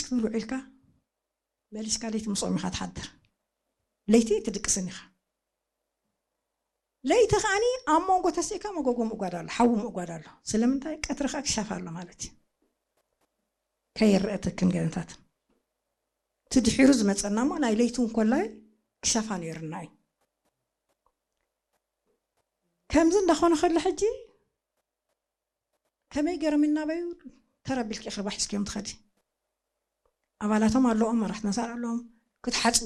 ትብል ውዒልካ መሊስካ ለይቲ ምስኦም ኢኻ ትሓድር። ለይቲ ትድቅስን ኢኻ። ለይቲ ከዓኒ ኣብ መንጎ ተሲእካ መጎጎ ምእጓድ ኣሎ፣ ሓዊ ምእጓድ ኣሎ። ስለምንታይ? ቀትሪ ከዓ ክሻፍ ኣሎ ማለት እዩ። ከይረአ ትክን ገንታት እቲ ድሒሩ ዝመፀና እሞ ናይ ለይቲ እውን ኮላይ ክሻፋ ነይርና እዩ። ከምዚ እንዳኾነ ከሎ ሕጂ ከመይ ገይሮም እናበዩ ተረቢልኪ ክርባ ሒዝክዮም ትኸዲ። ኣባላቶም ኣለዎም፣ መራሕትና ሳር ኣለዎም፣ ክትሓፅቡ